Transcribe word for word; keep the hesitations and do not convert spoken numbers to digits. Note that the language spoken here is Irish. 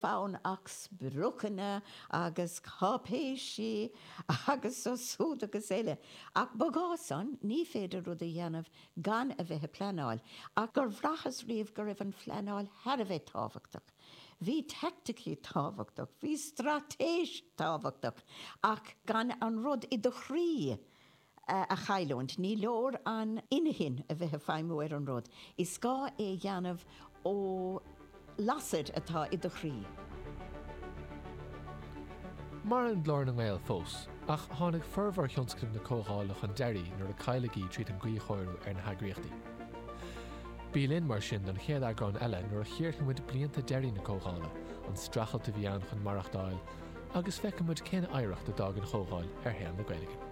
fonn ach spriocanna agus cáipéisí agus siúd agus eile. Ach ba ghá san ní féidir rud a dhéanamh gan a bheith ag pleanáil, ach gur bhraitheas riamh go raibh an phleanáil thar a bheith tábhachtach. Bhí teaicticí tábhachtach, bhí straitéis tábhachtach ach gan an rud i do chroí a chailliúint, ní leor an inchinn a bheith ag feidhmiú ar an rud. Is gá é a dhéanamh ó lasair atá i do chroí. Maireann Glór na nGael fós, ach tháinig formhór thionscnamh na Comhdhála chun deiridh nuair a cailleadh í tríd an gcuíchóiriú ar na heagraíochtaí. Bí linn mar sin don chéad eagrán eile nuair a chíorfaidh muid blianta deiridh na Comhdhála, an streachailt a bhí ann chun maireachtáil, agus feicfidh muid cén oidhreacht a d'fhág an Chomhdháil ar shaol na Gaeilge.